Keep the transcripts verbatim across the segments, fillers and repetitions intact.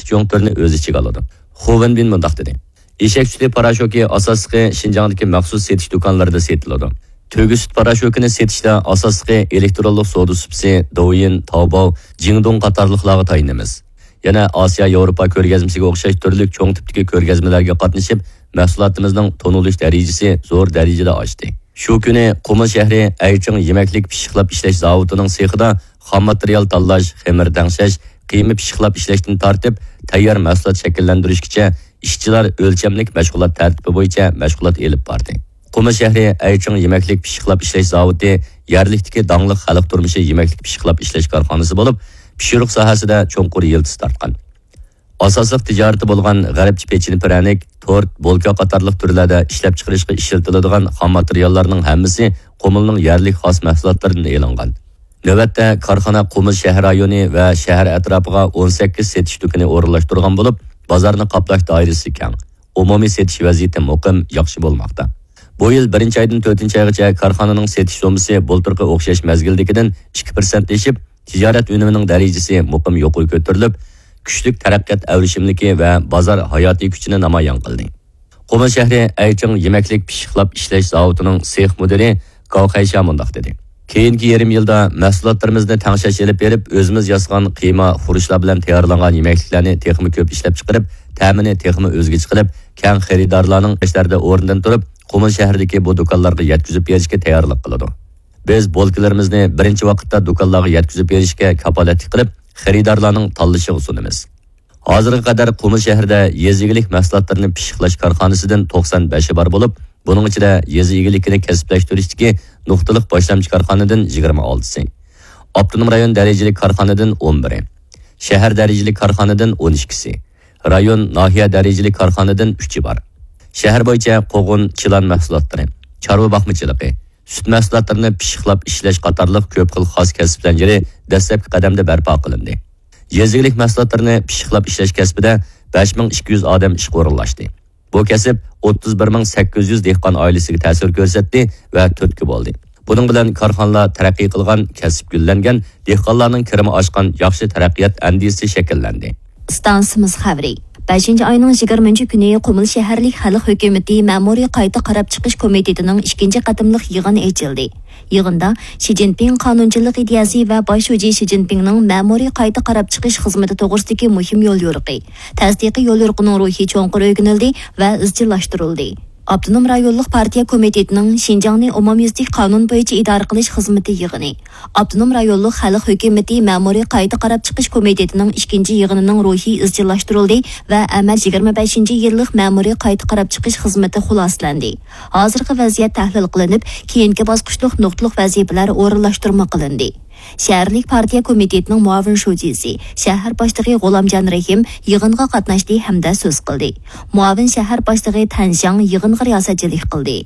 جۇڭ تۈرىنى ئۆز ئىچىگە ئالىدۇ. خۇ ۋېنبىن مۇنداق دېدى: ئېشەك سۈتى پاراشوكى ئاساسلىقى شىنجاڭدىكى مەخسۇس سېتىش دۇكانلىرىدا سېتىلىدۇ. تۆگە سۈت پاراشوكىنى سېتىشتا ئاساسلىقى ئېلېكترونلۇق سودا سۇپىسى، دوۋيىن، تاۋباۋ، جىڭدۇڭ قاتارلىقلارغا تايىنىمىز. يەنە ئاسىيا ياۋروپا كۆرگەزمىسىگە ئوخشاش تۈرلۈك چوڭ تىپتىكى كۆرگەزمىلەرگە قاتنىشىپ، مەھسۇلاتىمىزنىڭ تونۇلۇش دەرىجىسى زور دەرىجىدە ئاشتى. شۇ كۈنى قۇمۇل شەھىرى ئەيچىڭ يېمەكلىك پىششىقلاپ ئىشلەش زاۋۇتىنىڭ سېخىدا خام ماتېرىيال تاللاش، خېمىر تەڭشەش، قىيما پىششىقلاپ ئىشلەشتىن تارتىپ، تەييار مەھسۇلات شەكىللەندۈرۈشكىچە ئىشچىلار ئۆلچەملىك مەشغۇلات تەرتىپى بويىچە مەشغۇلات ئېلىپ باردى. قۇمۇل شەھىرى ئەيچىڭ يېمەكلىك پىششىقلاپ ئىشلەش زاۋۇتى يەرلىكتىكى داڭلىق خەلق تۇرمۇشى يېمەكلىك پىششىقلاپ ئىشلەش كارخانىسى بولۇپ، پىشۇرۇق ساھەسىدە چوڭقۇر يىلتىز تارتقان. ئاساسلىق تىجارىتى بولغان غەربچە پېچىنە پىرەنىك، تورت، بولكا قاتارلىق تۈرلەردە ئىشلەپچىقىرىشقا ئىشلىتىلىدىغان خام ماتېرىياللارنىڭ ھەممىسى قۇمۇلنىڭ يەرلىك خاس مەھسۇلاتلىرىدىن ئېلىنغان. نۆۋەتتە كارخانا قۇمۇل شەھەر رايونى ۋە شەھەر ئەتراپىغا ئون سەككىز سېتىش دۇكىنى ئورۇنلاشتۇرغان بولۇپ، بازارنى قاپلاش دائىرىسى كەڭ. ئومۇمىي سېتىش ۋەزىيىتى مۇقىم، ياخشى بولماقتا. بۇ يىل بىرىنچى ئايدىن تۆتىنچى ئايغىچە كارخانىنىڭ سېتىش سوممىسى بۇلتۇرقى ئوخشاش مەزگىلدىكىدىن ئىككى پىرسەنت ئېشىپ، تىجارەت ئۈنۈمىنىڭ دەرىجىسى مۇقىم يۇقىرى كۆتۈرۈلۈپ، كۈچلۈك تەرەققىيات ئەۋرىشىملىكى ۋە بازار ھاياتىي كۈچىنى نامايان قىلدى. قۇمۇل شەھىرى ئەيچىڭ يېمەكلىك پىششىقلاپ ئىشلەش زاۋۇتىنىڭ سېخ مۇدىرى گاۋ خەيشيا مۇنداق دېدى: كېيىنكى يېرىم يىلدا مەھسۇلاتلىرىمىزنى تەڭشەش ئېلىپ بېرىپ، ئۆزىمىز ياسىغان قىيما، خۇرۇچلار بىلەن تەييارلانغان يېمەكلىكلەرنى تېخىمۇ كۆپ ئىشلەپچىقىرىپ، تەمىنى تېخىمۇ ئۆزگىچە قىلىپ، كەڭ خېرىدارلارنىڭ ئىشلاردا ئورنىدىن تۇرۇپ، قۇمۇل شەھىرىدىكى بۇ دۇكانلارغا يەتكۈزۈپ بېرىشكە تەييارلىق قىلىدۇ. بىز بولكىلىرىمىزنى بىرىنچى ۋاقىتتا دۇكانلارغا يەتكۈزۈپ بېرىشكە كاپالەتلىك قىلىپ، خېرىدارلارنىڭ تاللىشىغا سۇنىمىز. ھازىرغا قەدەر قۇمۇل شەھىرىدە يېزا ئىگىلىك مەھسۇلاتلىرىنى پىششىقلاش كارخانىسىدىن توقسان بەشى بار بولۇپ، بۇنىڭ ئىچىدە يېزا ئىگىلىكىنى كەسىپلەشتۈرۈشتىكى نۇقتىلىق باشلامچى كارخانىدىن يىگىرمە ئالتىسى، ئاپتونوم رايون دەرىجىلىك كارخانىدىن ئون بىرى، شەھەر دەرىجىلىك كارخانىدىن ئون ئىككىسى، رايون، ناھىيە دەرىجىلىك كارخانىدىن ئۈچى بار. شەھەر بويىچە قوغۇن، چىلان مەھسۇلاتلىرى، چارۋا باقمىچىلىقى، سۈت مەھسۇلاتلىرىنى پىششىقلاپ ئىشلەش قاتارلىق كۆپ خىل خاس كەسىپ زەنجىرى دەسلەپكى قەدەمدە بەرپا قىلىندى. يېزا ئىگىلىك مەھسۇلاتلىرىنى پىششىقلاپ ئىشلەش كەسپىدە بەش مىڭ ئىككى يۈز ئادەم ئىشقا ئورۇنلاشتى. بۇ كەسىپ ئوتتۇز بىر مىڭ سەككىز يۈز دېھقان ئائىلىسىگە تەسىر كۆرسەتتى ۋە تۈرتكە بولدى. بۇنىڭ بىلەن كارخانىلار تەرەققىي قىلغان، كەسىپ گۈللەنگەن، دېھقانلارنىڭ كىرىمى ئاشقان ياخشى تەرەققىيات ئەندىزىسى شەكىللەندى. ئىستانسىمىز خەۋىرى. بەشىنچى ئاينىڭ يىگىرمىنچى كۈنى قۇمۇل شەھەرلىك خەلق ھۆكۈمىتى مەمۇرىي قايتا قاراپ چىقىش كومىتېتىنىڭ ئىككىنچى قېتىملىق يىغىنى ئېچىلدى. يىغىندا شى جىنپىڭ قانۇنچىللىق ئىدىيەسى ۋە باش شۇجى شى جىنپىڭنىڭ مەمۇرىي قايتا قاراپ چىقىش خىزمىتى توغرىسىدىكى مۇھىم يوليورۇقى، تەستىقىي يوليورۇقىنىڭ روھى چوڭقۇر ئۆگىنىلدى ۋە ئىزچىللاشتۇرۇلدى. ئاپتونوم رايونلۇق پارتىيە كومىتېتىنىڭ شىنجاڭنى ئومۇميۈزلۈك قانۇن بويىچە ئىدارە قىلىش خىزمىتى يىغىنى، ئاپتونوم رايونلۇق خەلق ھۆكۈمىتى مەمۇرىي قايتا قاراپ چىقىش كومىتېتىنىڭ ئىككىنچى يىغىنىنىڭ روھى ئىزچىللاشتۇرۇلدى ۋە ئەمەل يىگىرمە بەشىنچى يىللىق مەمۇرىي قايتا قاراپ چىقىش خىزمىتى خۇلاسىلەندى. ھازىرقى ۋەزىيەت تەھلىل قىلىنىپ، كېيىنكى باسقۇچلۇق نۇقتىلىق ۋەزىپىلەر ئورۇنلاشتۇرما قىلىندى. شەھەرلىك پارتىيە كومىتېتىنىڭ مۇئاۋىن شۇجىسى، شەھەر باشلىقى غۇلامجان رەھىم يىغىنغا قاتناشتى ھەمدە سۆز قىلدى. مۇئاۋىن شەھەر باشلىقى تەن شياڭ يىغىنغا رىياسەتچىلىك قىلدى.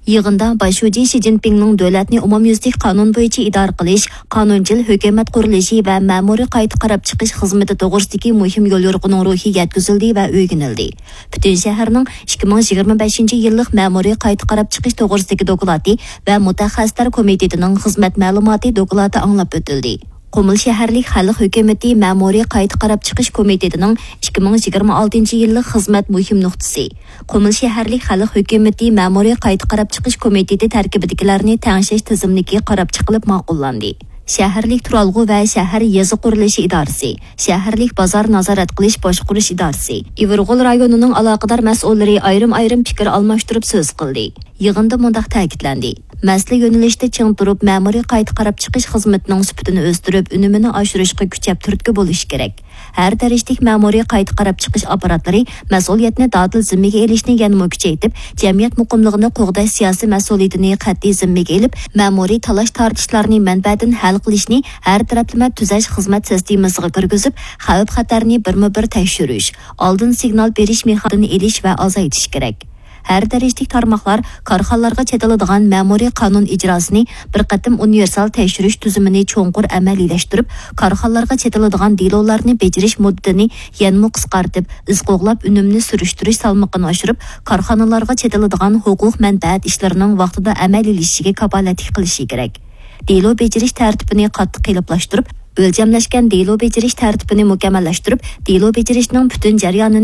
يىغىندا باش شۇجى شى جىنپىڭنىڭ دۆلەتنى ئومۇميۈزلۈك قانۇن بويىچە ئىدارە قىلىش، قانۇنچىل ھۆكۈمەت قۇرۇلۇشى ۋە مەمۇرىي قايتا قاراپ چىقىش خىزمىتى توغرىسىدىكى مۇھىم يوليورۇقىنىڭ روھى يەتكۈزۈلدى ۋە ئۆگىنىلدى. پۈتۈن شەھەرنىڭ ئىككى مىڭ يىگىرمە بەشىنچى يىللىق مەمۇرىي قايتا قاراپ چىقىش توغرىسىدىكى دوكلاتى ۋە مۇتەخەسسىسلەر كومىتېتىنىڭ خىزمەت مەلۇماتى دوكلاتى ئاڭلاپ ئۆتۈلدى. قۇمۇل شەھەرلىك خەلق ھۆكۈمىتى مەمۇرىي قايتا قاراپ چىقىش كومىتېتىنىڭ ئىككى مىڭ يىگىرمە ئالتىنچى يىللىق خىزمەت مۇھىم نۇقتىسى، قۇمۇل شەھەرلىك خەلق ھۆكۈمىتى مەمۇرىي قايتا قاراپ چىقىش كومىتېتى تەركىبىدىكىلەرنى تەڭشەش تىزىملىكى قاراپ چىقىلىپ ماقۇللاندى. شەھەرلىك تۇرالغۇ ۋە شەھەر يېزا قۇرۇلۇشى ئىدارىسى، شەھەرلىك بازار نازارەت قىلىش باشقۇرۇش ئىدارىسى، ئىۋىرغول رايونىنىڭ ئالاقىدار مەسئۇللىرى ئايرىم-ئايرىم پىكىر ئالماشتۇرۇپ سۆز قىلدى. يىغىندا مۇنداق تەكىتلەندى: مەسىلە يۆنىلىشىدە چىڭ تۇرۇپ، مەمۇرىي قايتا قاراپ چىقىش خىزمىتىنىڭ سۈپىتىنى ئۆستۈرۈپ، ئۈنۈمىنى ئاشۇرۇشقا كۈچەپ تۈرتكە بولۇش كېرەك. ھەر دەرىجىلىك مەمۇرىي قايتا قاراپ چىقىش ئاپپاراتلىرى مەسئۇلىيەتنى دادىل زىممىگە ئېلىشنى يەنىمۇ كۈچەيتىپ، جەمئىيەت مۇقىملىقىنى قوغداش سىياسىي مەسئۇلىيىتىنى قەتئىي زىممىگە ئېلىپ، مەمۇرىي تالاش-تارتىشلارنى مەنبەدىن ھەل قىلىشنى ھەر تەرەپلىمە تۈزەش خىزمەت سىستېمىسىغا كىرگۈزۈپ، خەۋپ-خەتەرنى بىرمۇبىر تەكشۈرۈش، ئالدىن سىگنال بېرىش مېخانىزمىنى ئېلىش ۋە ئازايتىش كېرەك. ھەر دەرىجىلىك تارماقلار كارخانىلارغا چېتىلىدىغان مەمۇرىي قانۇن ئىجراسىنى بىر قېتىم ئۇنىۋېرسال تەكشۈرۈش تۈزۈمىنى چوڭقۇر ئەمەلىيلەشتۈرۈپ، كارخانىلارغا چېتىلىدىغان دېلولارنى بېجىرىش مۇددىتىنى يەنىمۇ قىسقارتىپ، ئىز قوغلاپ ئۈنۈمنى سۈرۈشتۈرۈش سالمىقىنى ئاشۇرۇپ، كارخانىلارغا چېتىلىدىغان ھوقۇق مەنپەئەت ئىشلىرىنىڭ ۋاقتىدا ئەمەلىيلىشىشىگە كاپالەتلىك قىلىشى كېرەك. دېلو بېجىرىش تەرتىپىنى قاتتىق قېلىپلاشتۇرۇپ، ئۆلچەملەشكەن دېلو بېجىرىش تەرتىپىنى مۇكەممەللەشتۈرۈپ، دېلو بېجىرىشنىڭ پۈتۈن جەريانىنى